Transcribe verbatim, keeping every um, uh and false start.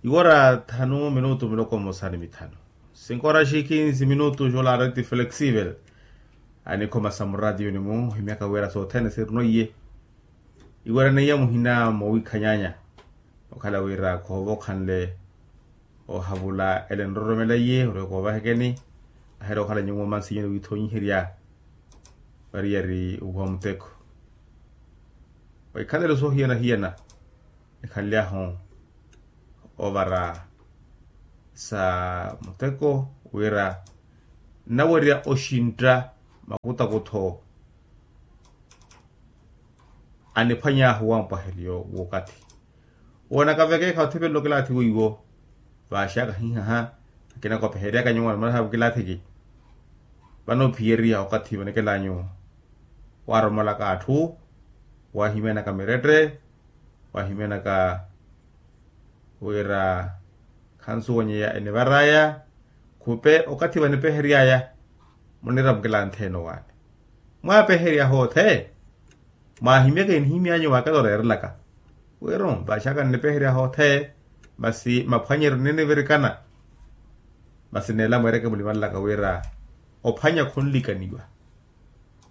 Iwora thanu minutu miloko mmosa ni mithanu. Sinkora xi kinsi minutu xolaareti flexivel. Anikhoma sa muratiyoni-mu ohimyaka wira sothene sirino iye. Iwerene iya muhina mowiikhanyanya. Okhala wira khoova okhanle ohavula ele nroromela iye orweka ovahekeni. Ahela okhala nyuwo mansinyeni wiithonyiherya. Variyari uwa muteko. Waikhalelo sohiyana-hiyana. Nikhanlyahu ovara sa muteko wira nnawerya oxintta makutakutho. Aniphwanyahu wampwaheliyo w'okathi woonaka vekeekha othipelelo kilaathi weiwo. Vaaxaka hihaha akina kopeheryaka nyuwo animalahavu kilaathiki. Vano ophiyeriha okathi vanekelanyu waaromolaka atthu. Waahimyanaka mirette waahimyanaka wira khansuwanyeya enivaraya. Khupe okathi vanipeheryaya munira mukilanthe enowaani mwaapeherya hoothe. Mwaahimyaka enihimyanyu vakela oreerelaka wira vaaxaka nnipeherya hoothe. Masi maphwanyeryo ninivirikana. Masi neela mweereke mulimalelaka wira ophwanya khunlikaniwa.